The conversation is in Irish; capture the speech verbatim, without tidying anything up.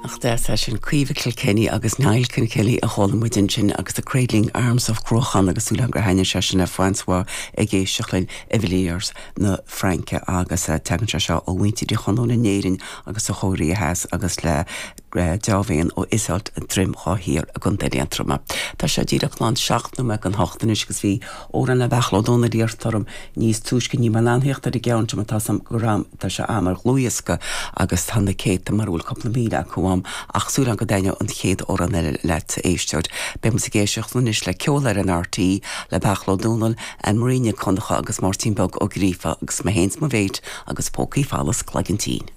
Ach de sin Caoimhe Kilkenny agus Niall Kilkenny a chuala muid ansin agus the Cradling Arms of Cruachan agus súil gur thaithin sé sin le François ag éisteacht linn i Villiers na Fraince agus eh, tagann sé seo ó mhuintir Uí Chonaill in Éirinn agus a chóirí theas agus le deábhéan ó Isolt Droim Dhá Thiar i gContae Aontroma. Tá sé díreach lán seacht nóiméad don hocht anois agus bhí amhrán le Beairtle Ó Dónaill iarrtha orm níos túisce ní mar leanfaíocht ar an gceann sem tá go ram tá sé am ar dhlúthdhiosca agus tá na céadta mar bhfuil cúpla míle acu am ach súil go dtaitneoidh an chéad amhrán eile leat éisteoir. Beidh ag éisteacht anois le ceol ar an RTÉ le Beairtle Ó Dónaill Anne Marie Nic Dhonncha agus Máirtín Beag Ó Gríofa agus mé féin mo mhéit agus pócaí folamh cloigeann tinn.